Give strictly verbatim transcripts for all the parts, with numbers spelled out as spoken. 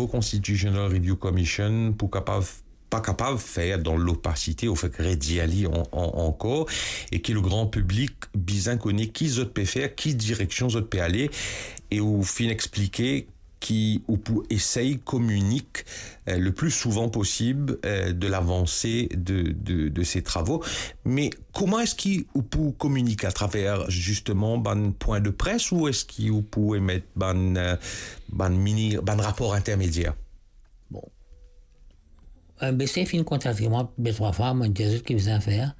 Constitutional Review Commission pou kapav, pa kapav fer dan lopasite, ou fek redir li an-, an-, ankor, e ki le gran piblik bizin kone ki zot pe fer, ki direksion zot pe ale, e ou finn explike ki ou pou esey kominik, eh, le pli souvan posib, eh, de lavanse de, de, de se travo. Me kouma eski ou pou kominik, atraver zisteman bann pwin de pres, ou eski ou pou emet bann, eh, bann mini, bann rapor intermedier? Bon. MBC finn kontakte mwa de trwa fwa, mo dir zot ki bizin fer.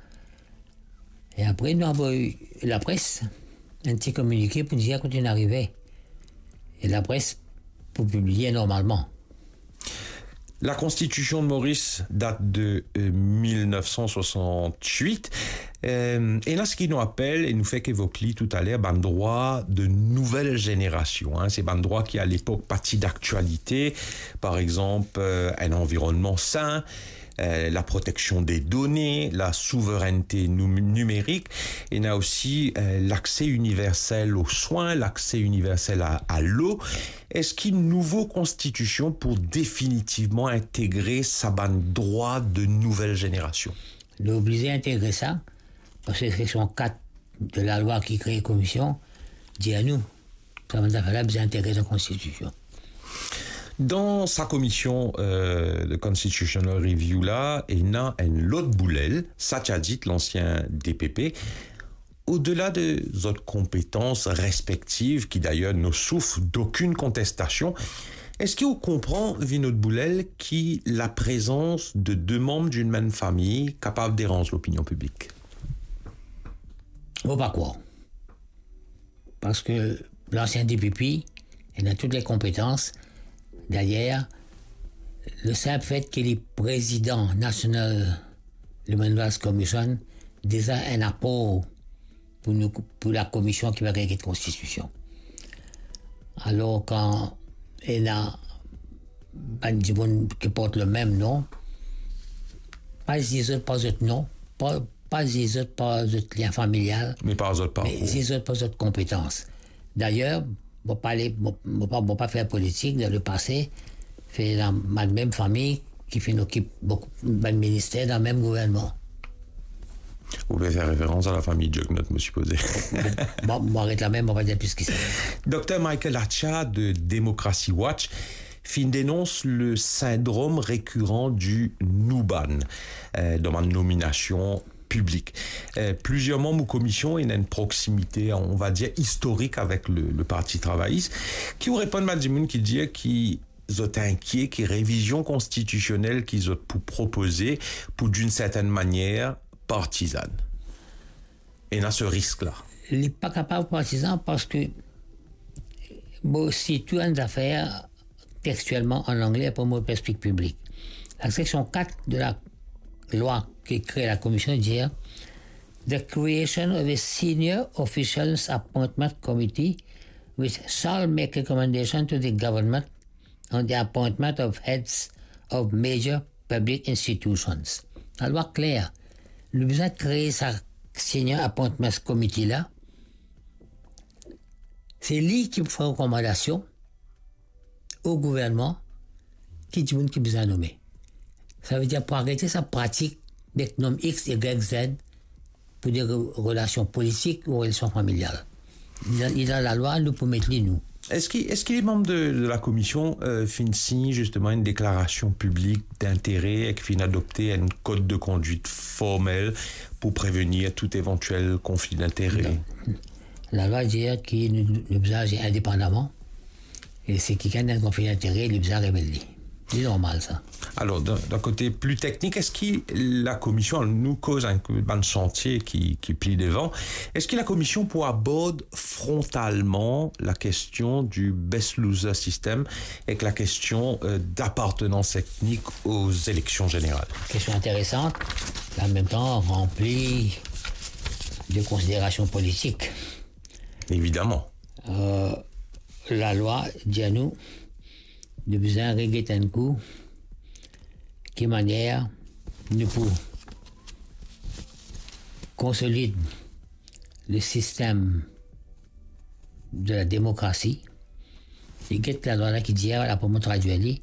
E apre, nou avoy lapres enn ti kominike pou dir kot nou arive. E lapres pou pibliye normalman. Lakonstitision de Moris dat de, eh, mil nef san swasant-wit. Eh, ena seki nou apel, e nou fek evok li toutaler, bann drwa de nouvel zenerasion, hein. Se bann drwa ki, a lepok, pa ti daktialite. Par exanp, eh, enn anvironnman sin, eh, laproteksion de done, lasouverennte nou-, nimerik, ena osi, eh, lakse iniversel o swin, lakse iniversel a, a lo. Eski nouvo konstitision pou definitivman integre sa bann drwa de nouvel zenerasion? Nou oblize integre sa, parski seksion kat de lalwa ki kre komision dir nou, sa bann zafer la bizin integre dan konstitision. Dan sa komision, eh, de Constitutional Review la, ena enn lot boulel, Satya Jeet, lansien DPP. Odela de zot konpetans respektiv, ki dayer no souf dokinn kontestasion, eski ou konpran, Vinod Boulel, ki laprezans de de manm dinn mem fami kapav deranz lopinion piblik? Mo pa krwar. Parski lansien DPP, li ena tou le konpetans. Dayer, le sinp fet ki li prezidan National Human Rights Commission, deza enn apor pou nou, pou lakomision ki pe regard konstitision. Alor, kan ena bann dimoun ki port le mem non, pa zis zot par zot non, pa, pa zis zot par zot lien familial, me par zot parkour, me zis zot par zot konpetans. Dayer, mo pa le, mo, mo pa, mo pa fer politik, dan lepase, fer dan bann mem fami ki finn okip boukou, bann minister dan mem gouvernman. Ou pe fer referans a lafami Jugnauth, mo sipoze. Mo, mo aret la mem, mo pa dir plis ki sa. Dokter Michael Acha de Democracy Watch finn denons le sindrom rekiran di nou bann, eh, dan bann nominasion piblik. Eh, plizier manm ou komision ena enn proksimite, on va dir, istorik avek le, le Parti Travayis. Ki ou reponn bann dimoun ki dir ki zot inkiet ki revizion konstitisionel ki zot pou propoze pou, d'une certaine manière, partizan? Ena se risk la. Li pa kapav partizan parski, bon, sitou enn zafer textielman an angle, apre mo pe explik piblik. La seksion kat de lalwa ki kre lakomision dir, "The creation of a senior officials appointment committee which shall make recommendation to the government on the appointment of heads of major public institutions." Lalwa kler. Nou bizin kre sa Senior Appointments Committee la. Se li ki pou fer rekomandasion o gouvernman ki dimoun ki bizin nome. Savedir pou aret sa pratik de nom X, Y, Z pou de re-, relasion politik ou relasion familial. Li dan, li dan lalwa, nou pou met li, nou. Eski, eski le manm de, de lakomision, eh, finn sign zisteman enn deklarasion piblik dintere ek finn adopte enn kod de kondwit formel pou prevenir tou evantiel konfli dintere? Non. Lalwa dir ki nou, nou bizin azir indepandaman. E si kikenn ena konfli dintere, li bizin revel li. Li normal, sa. Alor, dan, dan kote pli teknik, eski lakomision, nou koz enn bann santie ki, ki pli devan, eski lakomision pou abord frontalman lakestion di best loser system ek lakestion, eh, dapartenans etnik o zeleksion zeneral? Kestion interesan, an mem tan ranpli de konsiderasion politik. Evidaman. Eh, lalwa dir nou, nou bizin reget enn kou ki manier nou pou konsolid le sistem de la demokrasi. E get lalwa la ki dir, la pou mo tradwir li,